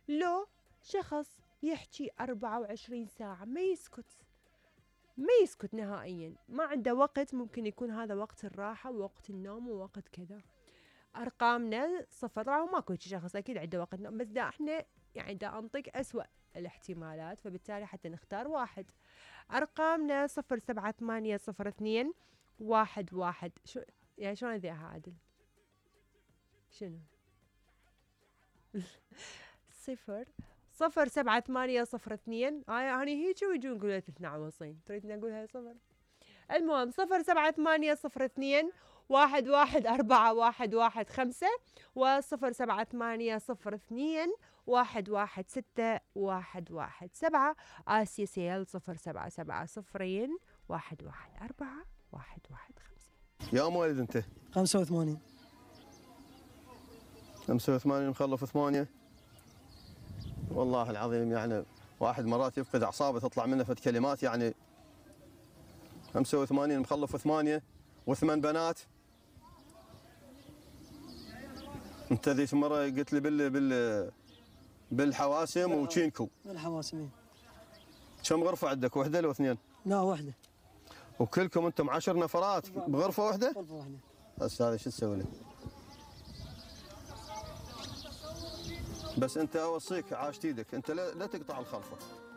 لو شخص يحكي 24 ساعة ما يسكت نهائيا، ما عنده وقت، ممكن يكون هذا وقت الراحة ووقت النوم ووقت كذا. أرقامنا 0، طبعا ماكو شخص أكيد عنده وقت نوم، بس دا احنا يعني دا أنطق أسوأ الاحتمالات، فبالتالي حتى نختار واحد. أرقامنا 0780211. شو يعني شلون أذيعها عادل؟ شنو؟ 07802. يعني هيك ويجون يقولوا 22 تريد نقولها 0. المهم 07802114115 و07802116117. آسيا سيل 0770114115. يا مواليد انت؟ 85. 85 مخلف 8. والله العظيم يعني واحد مرات يفقد اعصابه تطلع منه فد كلمات يعني. 85 مخلف 8 و8 بنات. انت ذيك مره قلت لي بالحواسم وتشينكو. بالحواسم. كم غرفه عندك، وحده لو اثنين؟ لا وحده. وكلكم انتم 10 نفرات بغرفه واحده؟ غرفه واحده. بس هذا شو تسوي له؟ بس انت اوصيك عاشت ايدك، انت لا تقطع الخلفه.